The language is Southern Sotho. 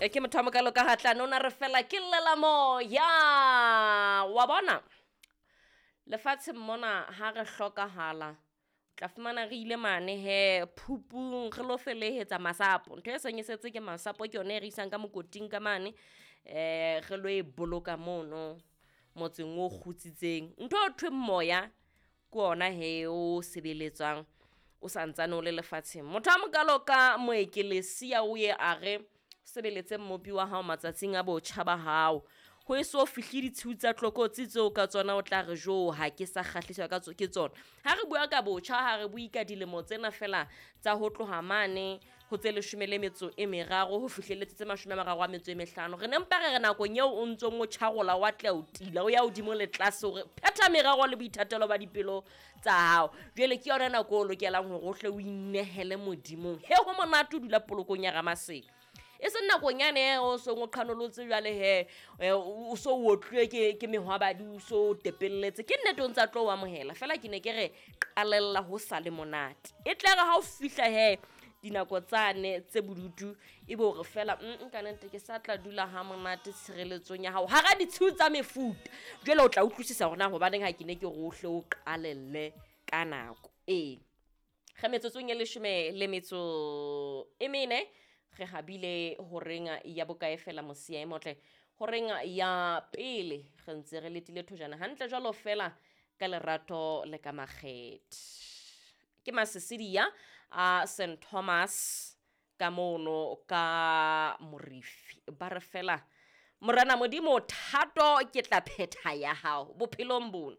E ke motho wa mokalo ka gatlane o na re fela ke llela moya wa bona lefatsheng mona ha re hlokahala tla fumana re ile mane he phupung re lo felehetsa masapo. Ntho e seng e setse ke masapo, ke yone e re isang ka mokoting ka mane, re lo e boloka mono motseng o kgutsitseng. Ntho e thweng moya ke ona he o sebeletswang o santsane o le lefatsheng. Motho a mokalo ka moekelesia o ye a re sebeletse mmopi wa hao matsatsing a botjha ba hao, ho e so fihle ditshiu tsa tlokotsi tseo ka tsona o tla re jo ha ke sa kgahliswa ka ke tsona. Ha re bua ka botjha, ha re bue ka dilemo tsena fela tsa ho tloha mane ho tse 13 ho fihlelletse tse 35. Re ne mpa re re nakong eo o ntsong o tjharola wa tla o tila o ya hodimo le tlase hore phetha merero le boithatelo ba dipelo tsa hao. Jwale ke yona nako o lokelang hore o hle o inehele modimong. He ho monate o dula polokong ya Ramasedi. E seng nakong yane o song o qhanolotse jwale he, o so o otluwe ke mehwabadi, o so o tepelletse. Ke nnete o ntsa tlo o amohela, fela ke ne ke re qalella ho sa le monate. E tle re ha o fihla he dinako tsane tse bodutu, e be hore fela, ka nnete ke sa tla dula ha monate tshireletsong ya hao hara ditshiu tsa mefuta. Jwale o tla utlwisisa hore na hobaneng ha ke ne ke re o hle o qalelle ka nako. Ee, re metsotsong e 14 re habile horeng ya bokae fela mosia e motle, horeng ya pele re ntse re letile thojana hantle jwalo fela ka lerato le ka makgethe. Ke Masisidia a St Thomas ka mono ka Morifi. Ba re fela Morena Modimo thato ke tla phetha ya hao bophelong bona.